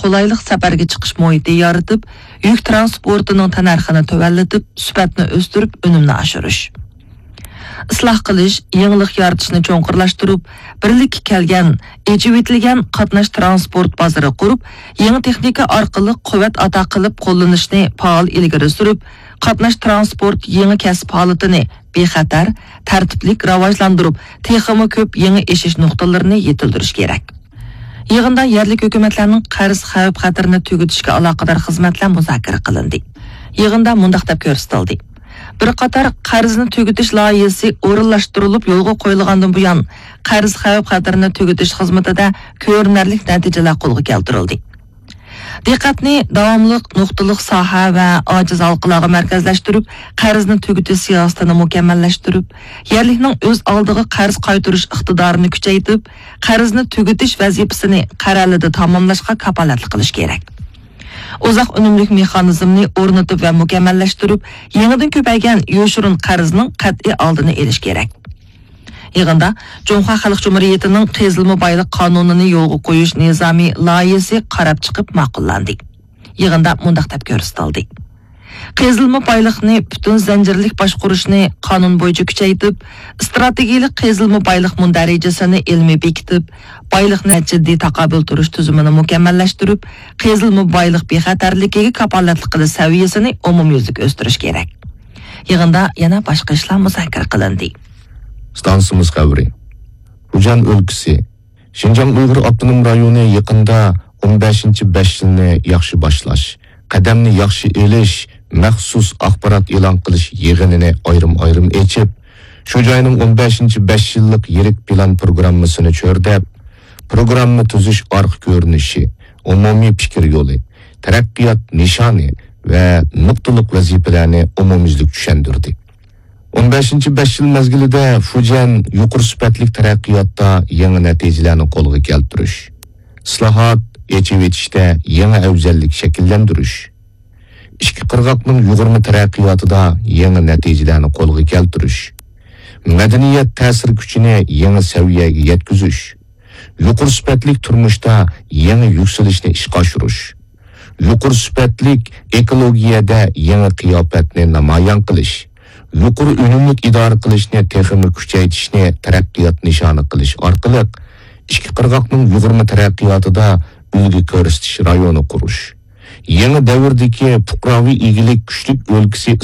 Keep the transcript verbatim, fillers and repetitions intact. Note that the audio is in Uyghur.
قولايلىق سەپەرگە چىقىش مۇھىتى يارىتىپ، يۈك تىرانسپورتىنىڭ تەننەرخىنى تۆۋەنلىتىپ، سۈپەتنى ئۆستۈرۈپ، ئۈنۈمنى ئاشۇرۇش. ئىسلاھ قىلىش، يېڭىلىق يارىتىشنى چوڭقۇرلاشتۇرۇپ، بىرلىككە كەلگەن، ئېچىۋېتىلگەن قاتناش تىرانسپورت بازىرى قۇرۇپ، يېڭى تېخنىكا ئارقىلىق قۇۋۋەت ئاتا قىلىپ قوللىنىشنى پائال ئىلگىرى سۈرۈپ، قاتناش تىرانسپورت يېڭى كەسىپ ھالىتىنى بىخەتەر، تەرتىپلىك راۋاجلاندۇرۇپ، تېخىمۇ كۆپ يېڭى ئېشىش نۇقتىلىرىنى يېتىلدۈرۈش كېرەك. يىغىندا يەرلىك ھۆكۈمەتلەرنىڭ قەرز خەۋپ-خەتىرىنى تۈگىتىشكە ئالاقىدار خىزمەتلەر مۇزاكىرە قىلىندى. يىغىندا مۇنداق دەپ كۆرسىتىلدى: بىر قاتار قەرزنى تۈگىتىش لايىھەسى ئورۇنلاشتۇرۇلۇپ يولغا قويۇلغاندىن بۇيان، قەرز خەۋپ-خەتىرىنى تۈگىتىش خىزمىتىدە كۆرۈنەرلىك نەتىجىلەر قولغا كەلتۈرۈلدى. دىققەتنى داۋاملىق نۇقتىلىق ساھە ۋە ئاجىز ھالقىلارغا مەركەزلەشتۈرۈپ، قەرزنى تۈگىتىش سىياسىتىنى مۇكەممەللەشتۈرۈپ، يەرلىكنىڭ ئۆز ئالدىغا قەرز قايتۇرۇش ئىقتىدارىنى كۈچەيتىپ، قەرزنى تۈگىتىش ۋەزىپىسىنى قەرەلىدە تاماملاشقا كاپالەتلىك قىلىش كېرەك. ئۇزاق ئۈنۈملۈك مېخانىزمنى ئورنىتىپ ۋە مۇكەممەللەشتۈرۈپ، يېڭىدىن كۆپەيگەن يوشۇرۇن قەرزنىڭ قەتئىي ئالدىنى ئېلىش كېرەك. يىغىندا جۇڭخۇا خەلق جۇمھۇرىيىتىنىڭ قېزىلما بايلىق قانۇنىنى يولغا قويۇش نىزامى لايىھەسى قاراپ چىقىپ ماقۇللاندى. يىغىندا مۇنداق دەپ كۆرسىتىلدى: قېزىلما بايلىقنى پۈتۈن زەنجىرلىك باشقۇرۇشنى قانۇن بويىچە كۈچەيتىپ، ئىستراتېگىيەلىك قېزىلما بايلىق مۇندەرىجىسىنى ئىلمىي بېكىتىپ، بايلىقنى جىددىي تاقابىل تۇرۇش تۈزۈمىنى مۇكەممەللەشتۈرۈپ، قېزىلما بايلىق بىخەتەرلىكىگە كاپالەتلىك قىلىش سەۋىيەسىنى ئومۇميۈزلۈك ئۆستۈرۈش كېرەك. يىغىندا يەنە باشقا ئىشلار مۇزاكىرە قىلىندى. ئىستانسىمىز خەۋىرى. فۇجيەن ئۆلكىسى. شىنجاڭ ئۇيغۇر ئاپتونوم رايونى يېقىندا ئون بەشىنچى بەش يىلنى ياخشى باشلاش، قەدەمنى ياخشى ئېلىش مەخسۇس ئاخبارات ئېلان قىلىش يىغىنىنى ئايرىم-ئايرىم ئېچىپ، شۇ جاينىڭ ئون بەشىنچى بەش يىللىق يىرىك پىلان پروگراممىسىنى چۆرىدەپ، پروگرامما تۈزۈش ئارقا كۆرۈنۈشى، ئومۇمىي پىكىر يولى، تەرەققىيات نىشانى ۋە نۇقتىلىق ۋەزىپىلەرنى ئومۇميۈزلۈك چۈشەندۈردى. ئون بەشىنچى بەش يىل مەزگىلىدە فۇجيەن يۇقىرى سۈپەتلىك تەرەققىياتتا يېڭى نەتىجىلەرنى قولغا كەلتۈرۈش، ئىسلاھات، ئېچىۋېتىشتە يېڭى ئەۋزەللىك شەكىللەندۈرۈش، ئىككى قىرغاقنىڭ يۇغۇرما تەرەققىياتىدا يېڭى نەتىجىلەرنى قولغا كەلتۈرۈش، مەدەنىيەت تەسىر كۈچىنى يېڭى سەۋىيەگە يەتكۈزۈش، يۇقىرى سۈپەتلىك تۇرمۇشتا يېڭى يۈكسىلىشنى ئىشقا ئاشۇرۇش، يۇقىرى سۈپەتلىك ئېكولوگىيەدە يېڭى قىياپەتنى نامايان قىلىش، يۇقىرى ئۈنۈملۈك ئىدارە قىلىشنى تېخىمۇ كۈچەيتىشنى تەرەققىيات نىشانى قىلىش ئارقىلىق، ئىككى قىرغاقنىڭ يۇغۇرما تەرەققىياتىدا ئۈلگە كۆرسىتىش رايونى قۇرۇش، يېڭى دەۋردىكى پۇقراۋى ئىگىلىك كۈچلۈك ئۆلكىسى